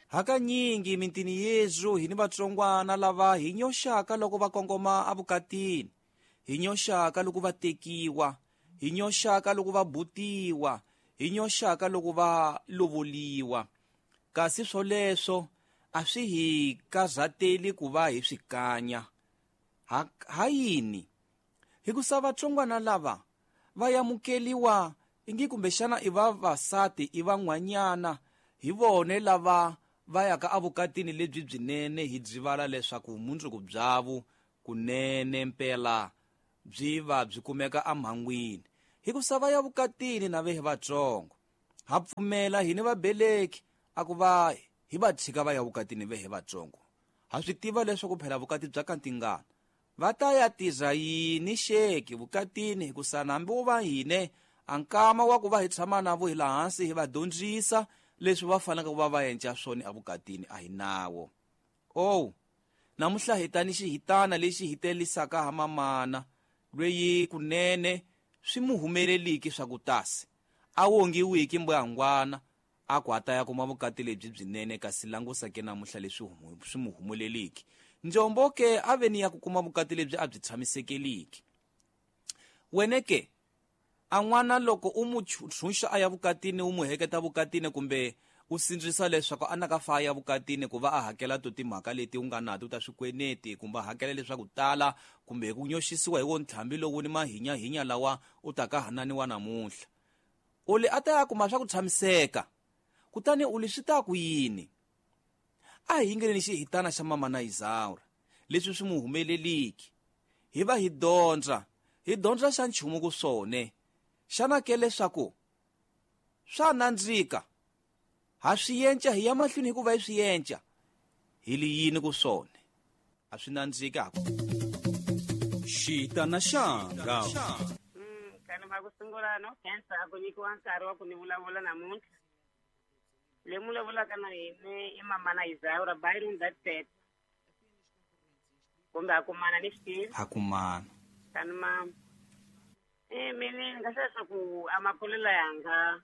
Hakanyingi mintini yezu hi ni vatsongwana lava hi nyoxaka loko va kongoma evukatini, hi nyoxaka loko va tekiwa, hi nyoxaka loko va butiwa, hi nyoxaka loko va lovoliwa. Kasi swoleswo a swi hi karhateli ku va hi swi kanya. Ha yini? Hikusa vatsongwana lava va yamukeliwa ingi kumbexana i vavasati i van'wanyana hi vone lava va yaka evukatini lebyi byinene, hi byivala leswaku vumundzuku byavo kunene mpela byi va byi kumeka emhangwini. Hikusa va ya vukatini na vehe vatsongo, ha pfumela hini vabeleki a ku va hi va tshika va ya vukatini vehe vatsongo. Ha swi tiva leswaku phela vukati bya ka tingana va ta ya tirha yini xeki vukatini, hikusa hambi wo va hine a nkama wa ku va hi tshama na vo hi laha hansi hi va dyondzisa leswi va faneleke ku va va endla swona evukatini a hi nawo. Oh, namuntlha hi ta ni xihitana lexi hi telisaka ha mamana lweyi kunene swi mu humeleliki swa ku tasi a wongiwiki mbuyangwana a ku a ta ya kuma vukati lebyi byinene, kasi langusa ke namuntlha leswi swi mu humeleliki. Njombo ke a ve ni ya ku kuma vukati lebyi a byi tshamisekeliki. Wene ke a n'wana loko u mu tshunxa a ya vukatini, u mu heketa vukatini kumbe u sindzisa leswaku a naka fa ya vukatini ku va a hakela to timhaka leti u nga nato ta swikweleti, kumbe a hakela leswaku tala, kumbe hi ku nyoxisiwa hi wo ntlhambi lowu ni mahinyahinya lawa u taka hananiwa namuntlha. U li a ta ya kuma swa ku tshamiseka, kutani u li swi ta ku yini? A hi yingeleni xihitana xa mama na Isaura leswi swi mu humeleliki, hi va hi dyondza, hi dyondza xa nchumu ku swone. Xana ke leswaku swa nandzika ha swi yenca hi ya mahlweni hikuva hi swi yenca hi li yini ku swone a swi nandzika haku. Xitana xanga. Kani ma ku sungula no khensa a ku nyikiwa nkarhi wa ku ni vulavula namuntlha. Le mu vulavulaka na hina i mama na Isaura Byron that said. Kumbe a kumana ni swi tivi. Ha kumana. Kani ma mina ni nga hlaya ku a makulelo yanga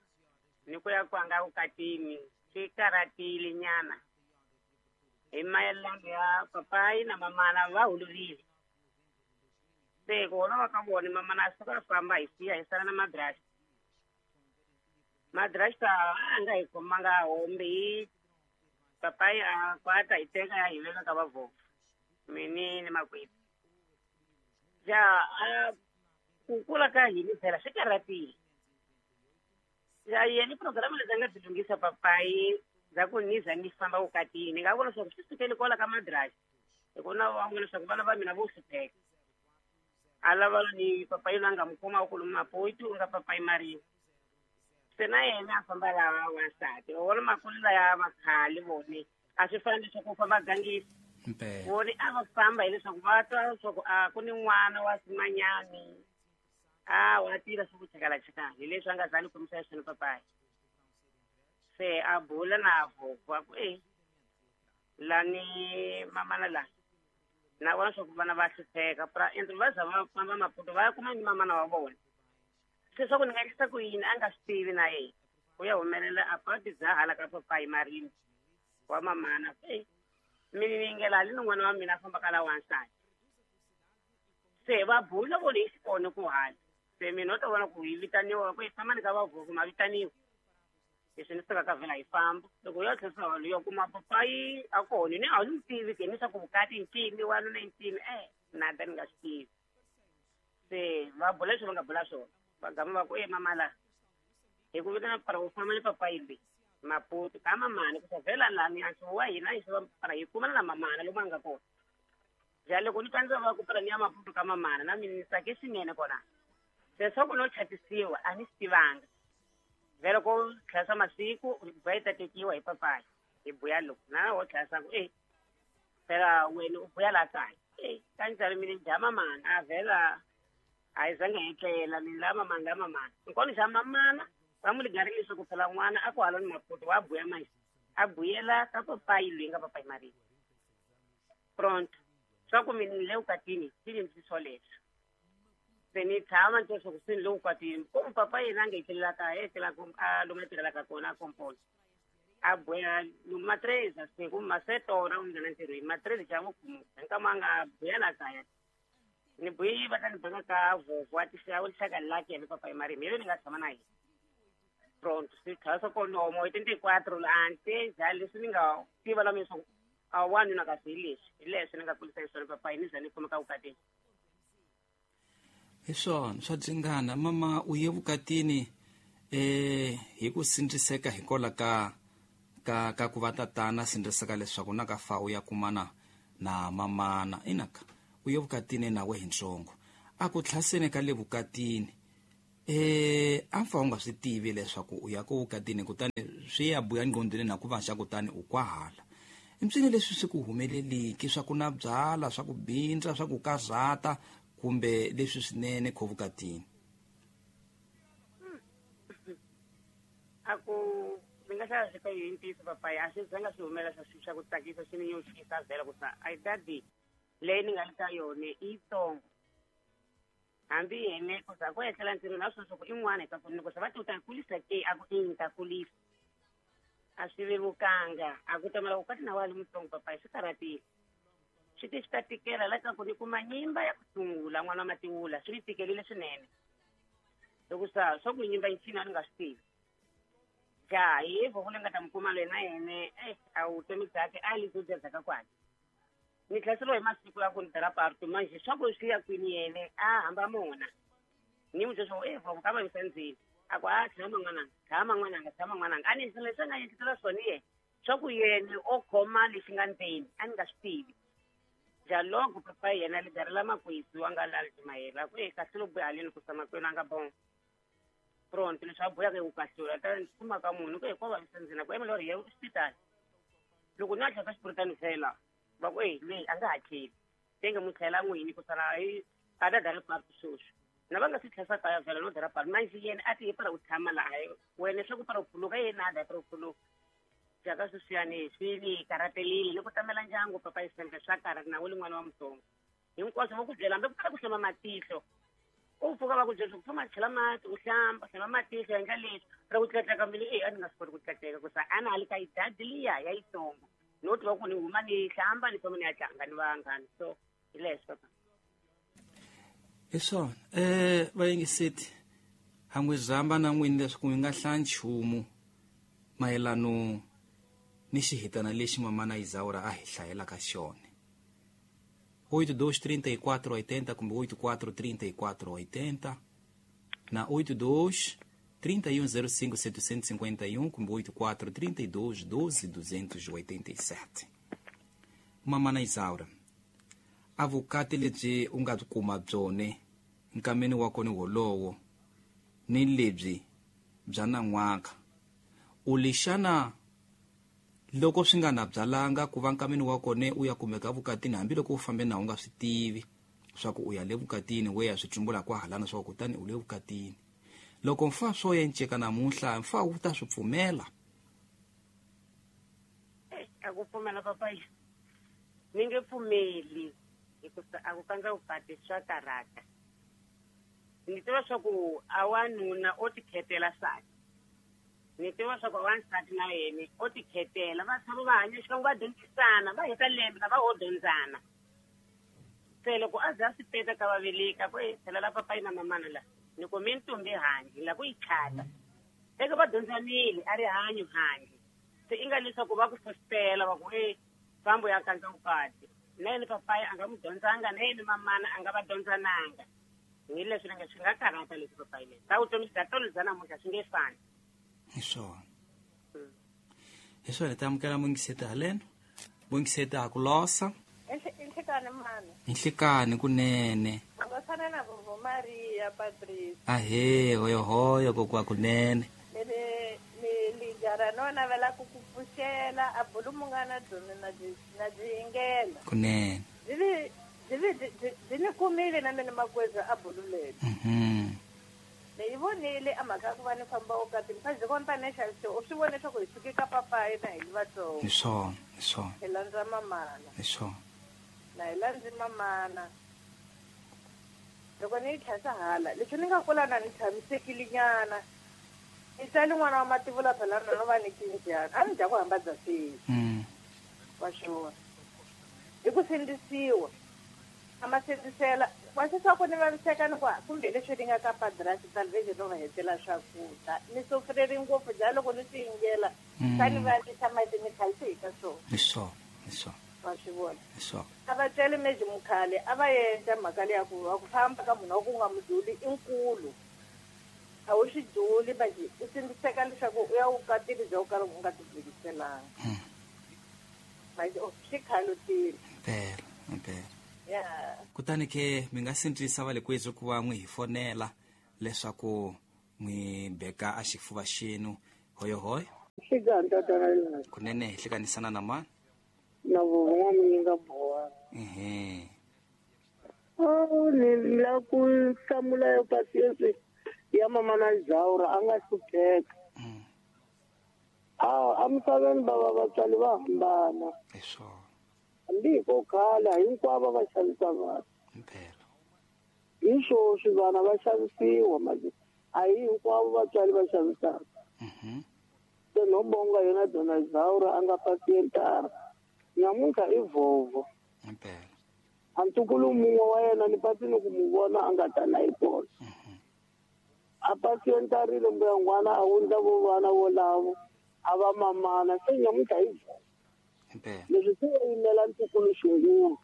ni ku ya kwanga vukatini swi karhatile nyana. Hi mayelana ya papayi na mamana va holovile. Se ku holova ka vona mamana a suka a famba hi siya hi sala na madrasta. Madrasta a nga hi khomanga hombe hi papayi a kwata hi teka ya hi veka ka vavhovho mini ni makwethu. Ja a ku kula ka hina phela swi karhatile. Ja yena programu leti a nga byi lunghisa papayi bya ku ni za ni famba vukatini, ni nga vona leswaku swi sukele kwala ka madrasta. Hi ku na va vona leswaku vana va mina vo hlupheka. A lava ni papayi loyi a nga n'wi khoma ku lomu Maputo u nga papayi Maria. Se na yena a famba laha wansati. Wa vona makulelo ya vakhale vone a swi fani leswaku u famba gangisa. Vone a va famba hileswaku va twa leswaku a ku ni n'wana wa simanyani. A wa tirha swa ku chakala-chakala hi leswi a nga za ni khomisa swona papayi. Se a bula na vhovho a ku e lani mamana la na vona swa ku vana va hlupheka pra endlo va za va famba Maputo va ya kuma ni mamana wa vona. Se swa ku ni nga endlisa ku yini a nga swi tivi na yena. U ya humelela a pati bya hala ka papayi Marini wa mamana. E mina ni yingela hali ni n'wana wa mina a famba ka la wansati. Se va bula vona hi xikona ku hala. Se mina u ta vona ku hi vitaniwa ku hi famba ni ka vavhovho ma vitaniwa. Leswi ni suka ka vhela hi famba. Loko u ya tlherisa holo ya kuma papayi a kona ni a wu n'wi tivi ke ni swa ku vukati ncini wanuna i ncini nada ni nga swi tivi. Se va bula leswi va nga bula swona. Va gama va ku e mama la hi ku vitana para u famba ni papayi leyi Maputo ka mamana ku vhela lani a wa hina hi swa para hi kumana na mamana lomu a nga kona. Ja loko ni twa va ku para ni ya Maputo ka mamana na mina ni tsake swinene kona. Se swa ku no chatisiwa a ni swi tivanga. Vhela ko tlhela masiku va yi ta tekiwa hi papayi hi buya loko na wo tlhela ku e phela wena u buya la kaya. E kanjhani mina dya mamana a vhela a hi zange hi tlela mina la mamana la mamana. Nkona xa mamana va n'wi ligarile leswaku phela n'wana a ku hala ni Maputo wa buya manje a buyela ka papayi loyi nga papayi Maria. Pronto swa ku mina ni le vukatini swi ni swoleswo. Se ni tshama ni twa leswaku se ni le vukatini. Ku papa yena a nga etlelela kaya, etlela a lomu a tirhelaka kona a komponi. A A buya matreza se ku masetora u nghena ntirhweni matreza xa n'wi khumuka nkama a nga buya la kaya ni buyi va ta ni banga ka vhovho a tisa u lixaka laki yena papa marimi yena ni nga tshama na yena pronto swi tlhela swa konomo hi 24 la ante njhani leswi ni nga tiva la mina swa ku a wanuna kasi hi leswi hi leswi ni nga kulisa hi swona papa ni za ni kumeka vukatini. Hi swona swa dzingana mama u ye vukatini hi ku sindziseka hikola ka ka ka ku va tatana sindziseka leswaku na ka fa u ya kumana na mamana inaka u ye vukatini nawe hi ntsongo a ku tlhaseni ka le vukatini a mfa u nga swi tivi leswaku u ya ku vukatini kutani swi ya buya nqondweni na ku va xa kutani u kwahala ntswini leswi swi ku humeleliki swa ku na byala swa ku bindza swa ku karhata kumbe leswi swinene kho vukatini. A ku ni nga hlaya swi ka yi ntiyiso papaya a swi zanga swi humela swa swi swa ku tsakisa swi ni nyoxisa vhela ku sa a dadi leyi ni nga le ka yona i yitsongo hambi yene ku za ku etlela ntirhweni a swi swa ku i n'wana hi ka ku ni ku sa va ti u ta kulisa ke a ku i ni ta kulisa a swi vevukanga a ku tamela ku kati na wa le mutsongo papaya swi karhatile swi ti swi ta tikela la ka ku ni kuma nyimba ya ku sungula n'wana wa matiwula swi ni tikelile swinene loko sa swa ku nyimba yi ncini a ni nga swi tivi ja hi voko leyi nga ta mi kuma loyi na yene a vutomi byakhe a li byo byadzaka kwani ni tlhaseriwa hi masiku ya ku ni dara parto manje swa ku swi ya kwini yene a hamba mona ni n'wi byela swa ku voko ka vavisa ndzeni a ku a tshama n'wananga tshama n'wananga tshama n'wananga a ni endlisela leswi a nga endlisela swona yena swa ku yena o khoma lexi nga ndzeni a ni nga swi tivi ja loko papa yena li darela makwetsu a nga lali timayela ku kahle lo buya haleni ku sa makwenu a nga bon pronto leswi a buyaka hi ku kahlula ta ni kuma ka munhu ku hi ko vavisa ndzeni ku emela ri ya xipitali loko ni a tlhela ka xipuritani fela va ku leyi a nga ha tlheli tenge mu tlhela n'wini ku sala hi a ta dara parto sweswi na va nga swi tlhesa kaya vhela no dara parto manje yena a ti hi para ku tshama laha wena swa ku para ku khuluka yena a da para ku khuluka jaka sweswiyani swi ni karhatelile ni ku tamela ndyangu papa yi sendle swa karhata na wu li n'wana wa mutsongo hinkwaswo va ku byela hambi ku kala ku hlamba matihlo u pfuka va ku byela ku famba chela mati u hlamba hlamba matihlo endla leswi ra ku tlatleka mbilu a ni nga swi koti ku tlatleka ku sa a na ha li ka idadi liya ya yitsongo no tiva ku ni huma ni hlamba ni famba ni ya tlanga ni vanghana so hi leswi papa. Hi swona vayingiseti ha n'wi zamba na n'wini leswaku mi nga hlaya nchumu mayelano ni xihitana lexi mamana Isaura a hi hlayelaka xona 82 34 80 kumbe 84 34 80 na 82 31 05 751 kumbe 84 32 12 287. Mamana Isaura a vukati lebyi u nga kuma byone nkameni wa kona wolowo ni lebyi bya nan'waka u lixana loko swi nga na byalanga ku va nkameni wa kona u ya kumeka vukatini hambiloko u fambe na u nga swi tivi swa ku u ya le vukatini we ya swi tsumbula kwahalana swa ku kutani u le vukatini loko mfa swo yenceka namuntlha mfa wu ta swi pfumela. A ku pfumela papa ni nge pfumeli hikuva a ku kandza vukati swa karhata ni tiva swa ku a wanuna o tikhetela nsati ni tiva swa ku a wansati na yena o tikhetela va tshama va hanya xikan'we va dyondzisana va heta lembe na va ho dyondzana se loko a za a swi peta ka va veleka ku tlhelela papayi na mamana la ni ku mi ntombi handle la ku yi chata eke va dyondzanile a ri hanyo handle se i nga leswaku va ku fositela va ku fambo ya kandza vukati na yena papayi a nga n'wi dyondzanga na yena mamana a nga va dyondzananga hi leswi nga swi nga karhata leswi papayi leswi ta vutomi bya tolo bya namuntlha swi nge fani. Hi swona hi swona hi ta amukela mungiseti haleno mungiseti a ku losa inhlekani mani inhlekani kunene ngosana na Vovo Maria Patrice ahe hoyohoyo kokwa kunene ni lijara no navela ku ku pfuxela a bulu mungana byona na byi yingela kunene byi ni kumile na mina makweza a bulu leri ni yi vonile a mhaka ya ku va ni famba vukatini fa byi kona tanihi xaviso u swi vone leswaku hi suke ka papayi na hi li vatsongo hi swona hi swona hi landza mamana hi swona na hi landzi mamana loko ni yi tlhasa hala leswi ni nga kula na ni tshamisekile nyana Ni tsali n'wana wa mativula phela no va ni kinjani a ni dya ku hamba bya sweswi. Wa swona. Hi ku sindzisiwa. A ma sindzisela wa swi ku ni vaviseka ni ku kumbe leswi ni nga ka padrasi salvation no va hetela swakudya. Ni sofreri ngopfu bya loko ni swi yingela swa ni vavisa mati ni khalisi hi ka swona. Hi swona, hi swona. Wa swi vona. Hi swona. A va tswele meji mukhale a va endla mhaka leya ku va ku famba ka munhu wa ku nga muduli i nkulu. A wu swi duli manje u sindziseka leswaku u ya vukatini bya ku kala u nga tibuliselanga. Manje swi khalutile. Impela, impela. Ya. Kutani ke mi nga sindzisa va le kwethu ku va n'wi hi fonela leswaku n'wi beka a xifuva xenu hoyohoyo. Xikani tatana yena. Kunene hi hlekanisana na mani? Na vun'we mi nga boha. Ehe. Oh, ni la ku hlamula yo pasiense ya mama na Zaura a nga hlupheka. A misaveni bava vatswari va hambana. Hi swona. Hambi ko khala hinkwavo va xavisa vanhu. Impela. Hi swoswi vana va xavisiwa manje a hi hinkwavo vatswari va xavisaka. Se no bonga yena Dona Zaura a nga pasientara. Nyamuntlha i vovo. Impela. A ntukulu mun'we wa yena ni pasi ni ku mu vona a nga ta na yi kona. A pasientarile mbuya n'wana a wundla vo vana volavo a va mamana se nyamuntlha i vovo. Impela. Leswi swi yimela ntukulu xingulu.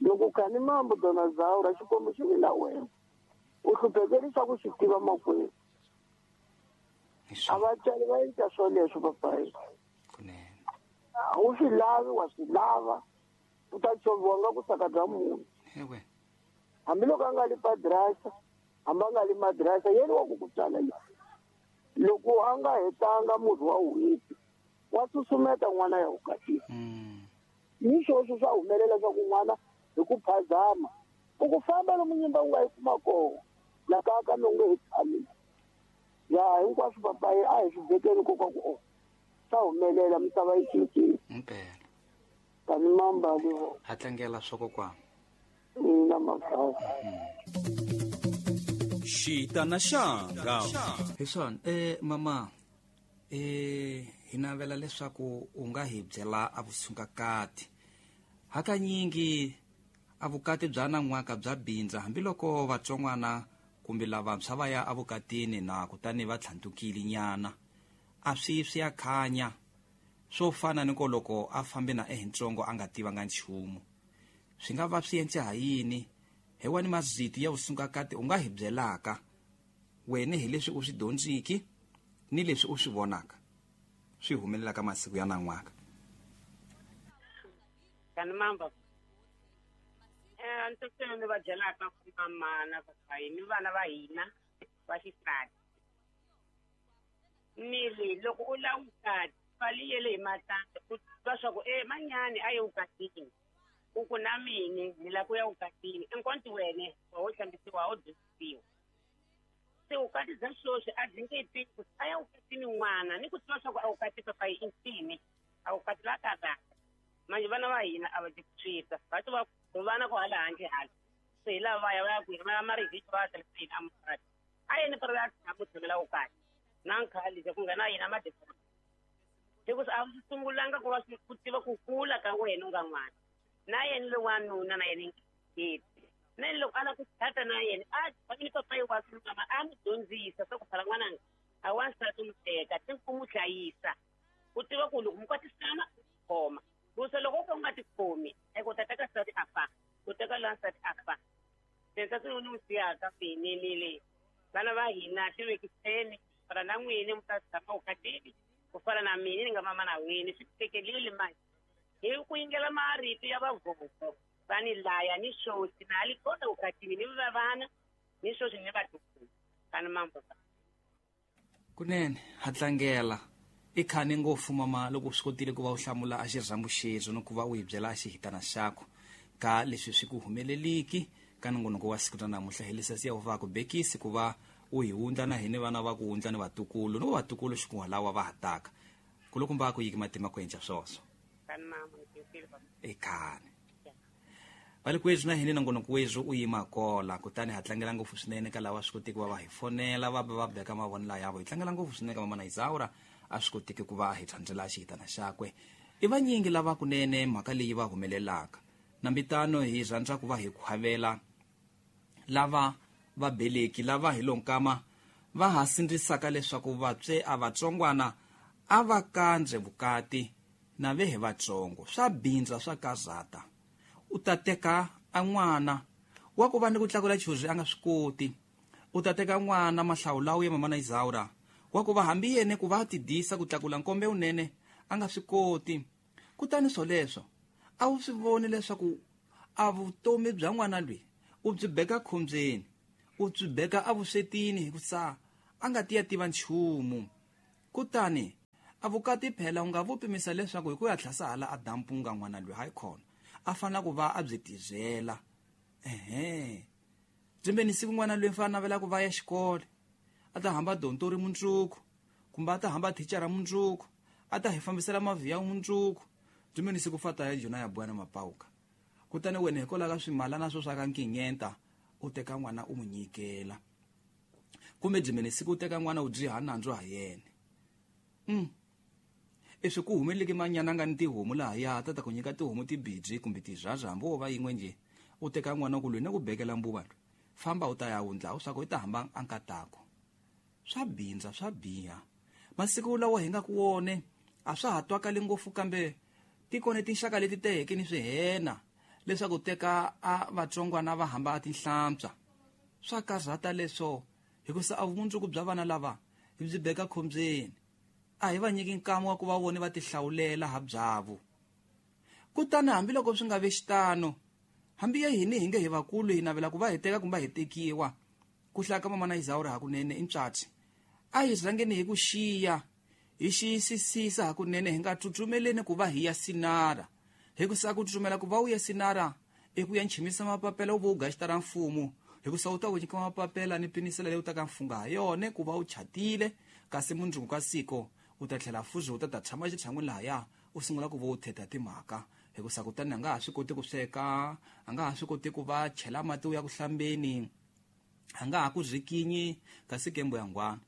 Loko khani mambo Dona Zaura xikwembu xi vi na wena. U hluphekerisa ku swi tiva makwenu. A vatswari va endla swoleswo papayi. Kunene. A wu swi lavi wa swi lava. U ta choviwa nga ku saka bya munhu. Ewe. Hambiloko a nga li padrasa, hambi a nga li madrasa, yena wa ku ku tswala yena. Loko a nga hetanga murhi wa n'hweti, wa susumeta n'wana ya vukatini. Ni swoswo swa humelela swa ku n'wana hi ku phazama. U ku famba lomu nyimba u nga yi kuma kona, la kaya ka mi u nge he tshami. Ya hinkwaswo papayi a hi swi vekeni nkoka ku o swa humelela misava yi cincile. Impela. Tani mambali vo. Ha tlangela swa kokwana. Ina mafaka. Xitana xanga. Hi swona, mama, hi navela leswaku u nga hi byela a vusungakati. Hakanyingi a vukati bya nan'waka bya bindza hambiloko vatsongwana kumbe lavantshwa va ya evukatini na kutani va tlhantukile nyana. A swi swi ya khanya swo fana ni ko loko a fambe na ehintsongo a nga tivanga nchumu. Swi nga va swi endle ha yini? Hi wani mazito ya vusungakati u nga hi byelaka wena hi leswi u swi dyondziki ni leswi u swi vonaka swi humelelaka masiku ya nan'waka. Kani mamba. Ntokoto ni va byelaka ku mama na papayi ni vana va hina va xisati. Ni ri loko u lava vukati pfali yele hi matandza u twa swa ku manyani a ye vukatini. U ku na mini ni lava ku ya vukatini enkonti wene wa wo hlambisiwa wo dyondzisiwa. Se vukati bya sweswi a byi nge tivi ku a ya vukatini n'wana ni ku tiva swa ku a vukati papayi i ncini a vukati la karhata. Manje vana va hina a va ti swisa va ti va vana ku hala handle hala. Se hi lava va ya va ya kwini va ya marivhiki va ya hlayiseni a mukati. A yeni pera ya tshama tshamela vukati. Na nkhali ku nghena yena madekona. Hikuva a swi sungulanga ku va swi ku tiva ku kula ka wena u nga n'wana. Na yena lo wanuna na yena nketi. Na yena loko a lava ku tshata na yena a famile papayi wa swi mama a n'wi dyondzisa swa ku phala n'wananga a wansati n'wi teka ti ku n'wi hlayisa. U tiva ku loko mi kwatisana u khoma. Ku se loko u ka u nga tikhomi u ta teka nsati a fa, u teka lowa nsati a fa. Se nsati lowu ni n'wi siyaka finelile. Vana va hina ti vekiseni fana na n'wini mi ta tshama vukatini ku fana na mina ni nga mama na wini swi tekelile manje. Hi ku yingela marito ya vavovo va ni laya ni swoswi na li kona vukatini ni va vana ni swoswi ni vatukulu. Kani mambo. Kunene ha tlangela i khani ngopfu mama loko u swi kotile ku va u hlamula a xirhambo xexo ni ku va u hi byela a xihitana xakho ka leswi swi ku humeleliki ka nongonoko wa siku ra namuntlha hi leswi ya va ku bekisi ku va u hi wundla na hina vana va ku wundla ni vatukulu ni vatukulu xikun'wa va ha taka kulukumba ku yiki matima ku endla swoswo. Kani mama, ni I khani. Va le kwethu na hini nongonoko wethu u yima kola, kutani ha tlangela ngopfu swinene ka lava swi kotiki va va hi fonela va va beka mavonelo yavo. Hi tlangela ngopfu swinene ka Mamana Isaura a swi kotiki ku va hi thandzela xihitana xakwe. I vanyingi lava kunene mhaka leyi va humelelaka. Nambitano hi rhandza ku va hi khwavela lava va beleki lava hi lonkama va ha sindzisaka leswaku vatswe a vatsongwana a va kandze vukati na ve hi vatsongo. Swa bindza swa kazata. U ta teka a n'wana wa ku va ni ku tlakula chuzi a nga swi koti. U ta teka n'wana mahlawulawu ya Mamana Isaura wa ku va hambi yene ku va tidisa ku tlakula nkombe unene a nga swi koti. Kutani swoleswo a wu swi voni leswaku a vutomi bya n'wana loyi u byi beka khombyeni, u byi beka evuswetini hikusa a nga ti ya tiva nchumu. Kutani a vukati phela u nga vu pimisa leswaku hi ku ya tlhasa hala a dampunga n'wana loyi hayi khona a fanele ku va a byi tizela. Ehe, byimbeni siku n'wana loyi fanele navela ku va ya xikolo, a ta hamba dontori mundzuku kumbe a ta hamba thicara mundzuku, a ta hi fambisela mavhiya mundzuku. Byimbeni siku fata ya jona ya bwana mapauka. Kutani wena hikwalaho ka swimalana swo swa ka nkinyenta u teka n'wana u n'wi nyikela, kumbe byimbeni siku u teka n'wana u dyiha nandzu ha yena. Leswi ku humeleleke manyana nga ni tihomu lahaya ta ta ku nyika tihomu tibidyi kumbe tizhaza hambi wo va yin'we nje, u teka n'wana ku lwi na ku bekela mbuva lwi famba u ta ya wundla swa ku i ta hamba a nkatako. Swa bindza swa biha. Masiku lawa hi nga ku wone a swa ha twakali ngopfu, kambe tikone tinxaka leti teheke ni swihena leswaku teka a vatsongwana va hamba a tinhlampsa. Swa karhata leswo hikusa a vumundzuku bya vana lava hi byi beka khombyeni. A hi va nyiki nkama wa ku va vone va tihlawulela ha byavo. Kutani hambiloko swi nga ve xitano, hambi ya hini hi nge hi vakulu hi navela ku va hi teka kumbe hi tekiwa, ku hlaya ka Mamana Isaura hakunene i ntswatsi. A hi rhangeni hi ku xiya, hi xiyisisisa hakunene, hi nga tsutsumeleni ku va hi ya sinara. Hikusa ku tsutsumela ku va u ya sinara i ku ya nchimisa mapapela u va u gaxita ra mfumo, hikusa u ta ku nyika mapapela ni pinisela leyi u ta ka mfunga ha yona ku va u chatile, kasi mundzuku ka siko u ta tlhela fuzi u ta ta tshama xitshan'wini lahaya u sungula ku va u thetha timhaka. Hikusa kutani a nga ha swi koti ku sweka, a nga ha swi koti ku va chela mati u ya ku hlambeni, a nga ha ku zikinyi kasi kembo ya ngwana.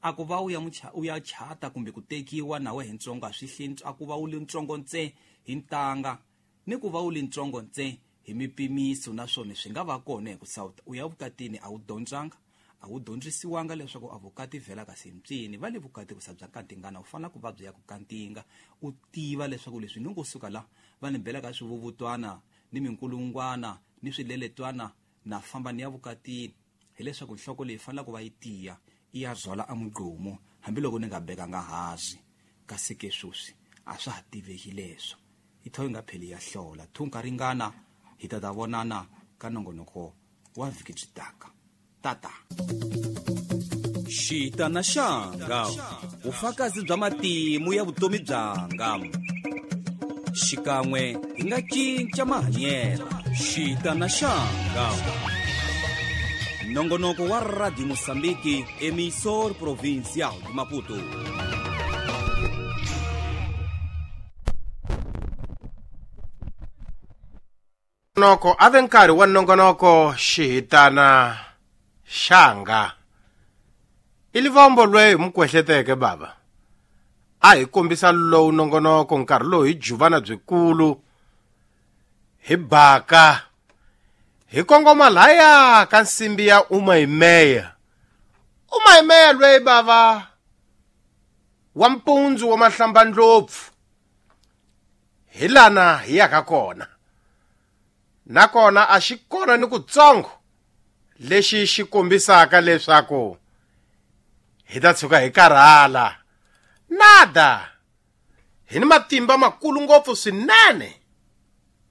A ku va u ya u ya chata kumbe ku tekiwa nawe hi ntsongo a swi hli, a ku va u li ntsongo ntse hi ntanga ni ku va u li ntsongo ntse hi mipimiso, naswona swi nga va kona hikusa u ya vukatini a wu dyondzanga, a wu dyondzisiwanga leswaku a vukati vhela kasi mpyini. Va le vukati ku sa bya kantingana, u fanele ku va byi ya ku kantinga, u tiva leswaku leswi ni ngo suka la va ni bela ka swivuvutwana ni minkulungwana ni swileletwana na famba ni ya vukatini, hileswaku nhloko leyi fanele ku va yi tiya i ya zwala a mugqumo hambiloko ni nga bekanga hansi. Kasi ke sweswi a swa ha tiveki leswo i tho yi nga pheli ya hlola thunka ringana. Hi ta ta vonana ka nongonoko wa vhiki byi taka. Tata Xitana xanga, vufakazi bya matimu ya vutomi byanga. Xikan'we hi nga cinca mahanyelo. Xitana xanga, nongonoko wa Radio Mozambique, emissor provincial de Maputo. Nongonoko ave nkarhi wa nongonoko xihitana xanga. I livombo lweyi hi mukwehleteke baba. A hi kombisa lowu nongonoko nkarhi lowu hi juvana byikulu hi baka hi kongoma laya ka nsimbi ya Umayimeya. Umayimeya lweyi bava wa mpundzu wa mahlambandlopfu hi lana hi yaka kona. Nakona a xi kona ni kutsongo lexi xi kombisaka leswaku hi ta tshuka hi karhala. Nada, hi ni matimba makulu ngopfu swinene.